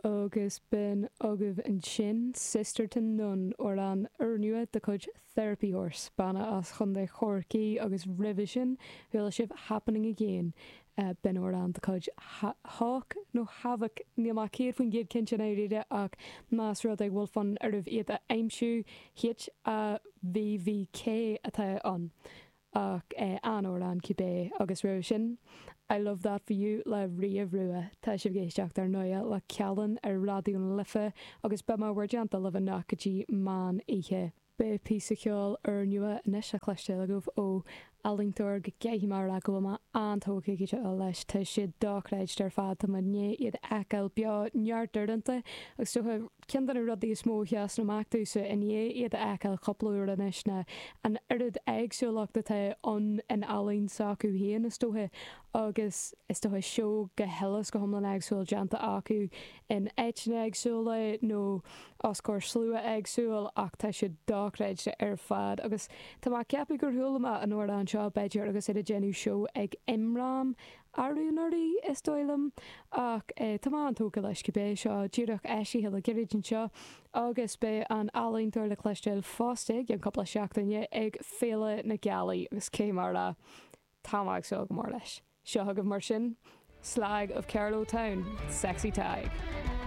Agus b'in agaibh ansin Sisterton Nun, amhrán úrnua de chuid Therapy Horse, banna as Chontae Chorcaí agus roimhe sin chuala sibh Happening Again, b'in amhrán de chuid Hawk nó Havoc, níl mé 100% cinnte i ndáiríre ach más rud é go bhfuil fonn oraibh iad a aimsiú, H-A-V-V-K atá ann. Ach an-amhrán cibé, agus roimhe sin, I Love That For You le Ria Rua. Tá sibh ag éisteacht ar ndóighe le Callin ar Raidió na Life agus beidh mé i bhur dteannta libh anocht go dtí meán oíche. Beidh píosa ceoil úrnua anois le cloisteáil agaibh ó ealaíontóir go gcaithfidh mé a rá go bhfuil mé an-tógtha go deo leis. Tá siad dochreidte ar fad, tá mé i ndiaidh iad a fheiceáil beo neart uaireanta agus is dócha Ceann de na rudaí is mó a sheasann amach domhsa i ndiaidh iad a fheiceáil cúpla uair anois ná an oiread éagsúlacht atá ann in ealaín s'acu féin, is dócha, agus is dócha seó go huile is go hiomlán éagsúil déanta acu in áiteanna éagsúla nó os comhair slua éagsúil ach tá siad dochreidte ar fad agus tá mé ag ceapadh gur chuala mé an amhrán seo b'fhéidir agus iad ag déanamh seó ag Imram arú anuraidh, is dóigh liom, ach tá mé an-tógtha leis cibé. Seo díreach eisithe le gairid anseo agus beidh an ealaíontóir le cloisteáil fosta i gceann cúpla seachtaine ag Féile na Gealaí agus caithfidh mé a rá, tá mé ag súil go mór leis. Seo chugaibh mar sin, Slag of Carlow Town, Sexy Tadhg.